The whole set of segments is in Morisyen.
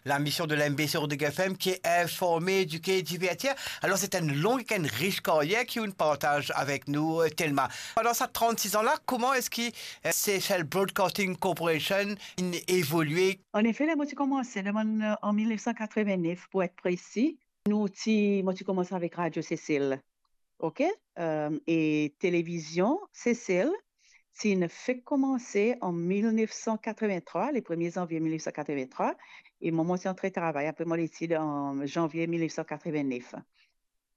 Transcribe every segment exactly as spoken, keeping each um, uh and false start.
La mission de la M B C Rodrigue F M qui est informer, éduquer, divertir. Alors, c'est une longue et une riche carrière qui vous partage avec nous, euh, Thelma. Pendant ces trente-six ans-là, comment est-ce que, euh, Seychelles Broadcasting Corporation a évolué? An efe, ler mo ti koumans, se an mil nef san katreven-nef, pou et presi, nou ti, mo ti koumans avek Radio Seychelles, ok? Euh, e Televizion Seychelles, ti fek koumanse an mil nef san katreven-trwa, le premie zanvie mil nef san katreven-trwa, e mwa, mo ti antre travay apre mo letid an zanvie mil nef san katreven-nef.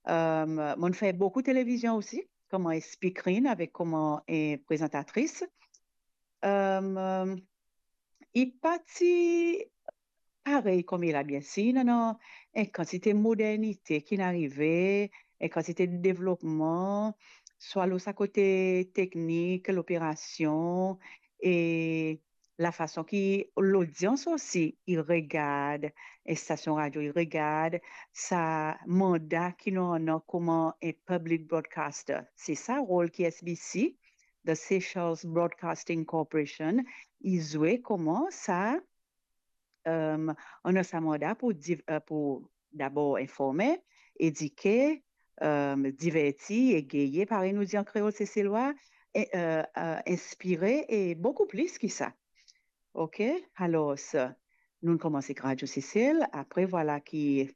Euh, mo fer boukou televizion osi, kouma speakerine avek kouma, eh, prezantatris. Euh, li pa ti parey kouma li la, bien sir, non, non, enn kantite modernite ki inn arive, enn kantite devlopman, swa lor sa kote teknik, loperasion, e lafason ki lodians osi, li regard enn stasion radio, li regard sa manda ki nou annan kouma enn public broadcaster. Se sa rol ki S B C, the Seychelles Broadcasting Corporation, li zwe kouma sa, euh, annan sa manda pou div-, euh, pou dabor informe, edike, euh, diverti, egeye, parey nou dir an kreol seselwa, e, euh, euh, inspire e boukou plis ki sa. Ok? Alor, nou koumans ek Radio Seychelles, apre vwala ki,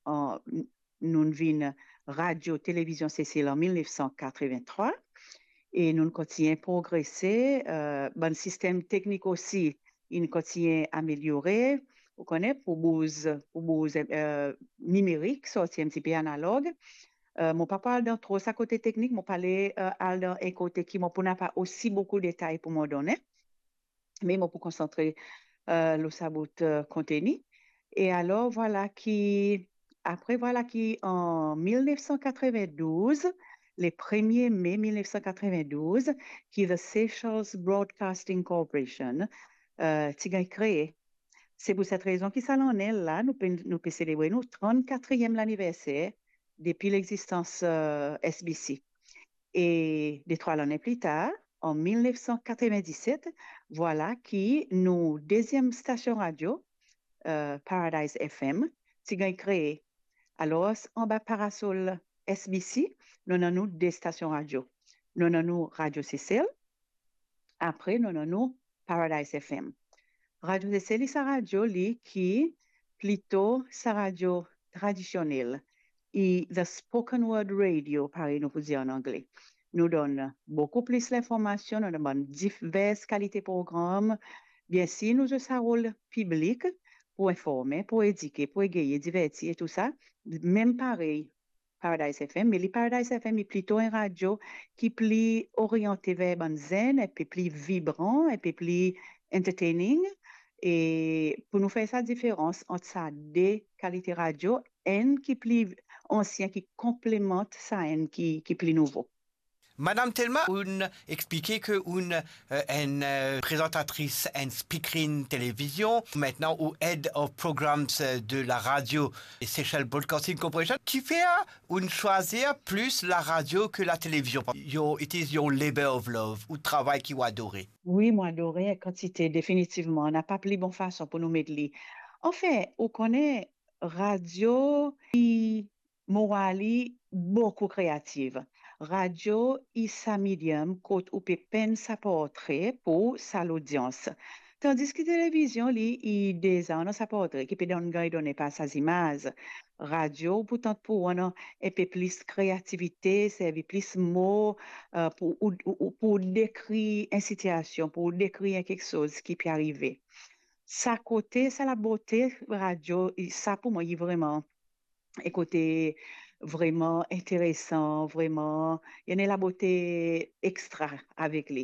an, nou vinn Radio Televizion Seychelles an mil nef san katreven-trwa, e nou kontign progrese, euh, bann sistem teknik osi, inn kontign ameliore, ou kone, pou bouz, pou bouz, euh, nimerik, sorti enn tipe analog. Euh, mo pa pou al dan tro sa kote teknik, mo pou al, euh, al dan enn kote ki mo pou napa osi boukou detay pou mo done, me mo pou konsantre, euh, lor sa bout, euh, konteni. E alor, vwala ki, apre, vwala ki an mil nef san katreven-douz, le premie me mil nef san katreven-douz, ki the Seychelles Broadcasting Corporation, euh, ti gagn kree. Se pou set rezon ki sa lane la, nou pe, nou pe selebre nou trannkatriem laniverser depi lexistans, euh, S B C. E de trwa lane pli tar, an mil nef san katreven-diset, vwala ki nou deziem stasion radio, euh, Paradise F M, ti gagn kree. Alor, anba parasol S B C, nou annan nou de stasion radio. Nou annan nou Radio Seychelles, apre nou annan nou Paradise F M. Radio Seychelles, li sa radio li ki plito sa radio tradisionel, e the spoken word radio, parey nou pou dir an angle. Nou donn boukou plis linformasion, nou donn bann divers kalite program. Bien sir, nou zwe sa rol piblik pou informe, pou edike, pou egeye, diverti e tou sa. Mem parey, Paradise F M, me li Paradise F M, li plito enn radio ki pli oriante ver bann zenn, enn pe pli vibran, enn pe pli entertaining. E pou nou fer sa diferans ant sa de kalite radio, enn ki pli ansien, ki konplemant sa enn ki, ki pli nouvo. Madam Thelma, ou'nn explike ke ou'nn, euh, enn, euh, prezantatris, enn speakerine televizion, maintenant ou Head of Programs, euh, de la radio Seychelles Broadcasting Corporation. Kifer ou'nn swazir plis la radio ke la televizion? Your, it is your labor of love, ou travay ki ou adore. Wi, mo adore enn kantite, definitivman. Napa pli bon fason pou nou met li. Anfin, ou kone, radio, li mo vwar li boukou kreativ. Radio, li sa medium kot ou pe penn sa portre pou sa lodians. Tandis ki televizion, li, li deza annan sa portre ki pe donn, gagn done par sa zimaz. Radio, ou pou tant pou annan enn pe plis kreativite, servi plis mo, euh, pou, ou, ou, ou, pou dekrir enn sitiasion, pou dekrir enn kiksoz ki pe arive. Sa kote, sa labote radio, sa pou mwa, li vreman enn kote vreman interesan, vreman, li ena labote extra avek li.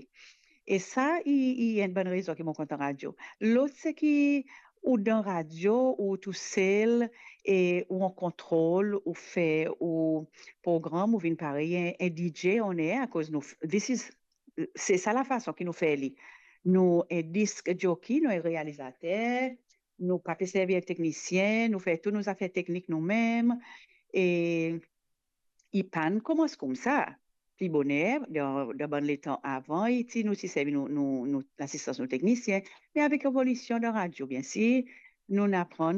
E sa, li, li enn bann rezon ki mo kontan radio. Lot, se ki ou dan radio, ou tousel, e ou an kontrol, ou fer ou program, ou vinn parey enn, enn D J on air, akoz nou, this is, se sa lafason ki nou fer li. Nou enn disc jockey, nou enn realizater, nou pa pe servi enn teknisien, nou fer tou nou zafer teknik noumem, e li pa'nn koumans koumsa. Pli boner, dan, dan bann letan avan, li ti, nou ti servi nou, nou, nou, lasistans nou teknisien, me avek evolision dan radio, bien sir, nou'nn aprann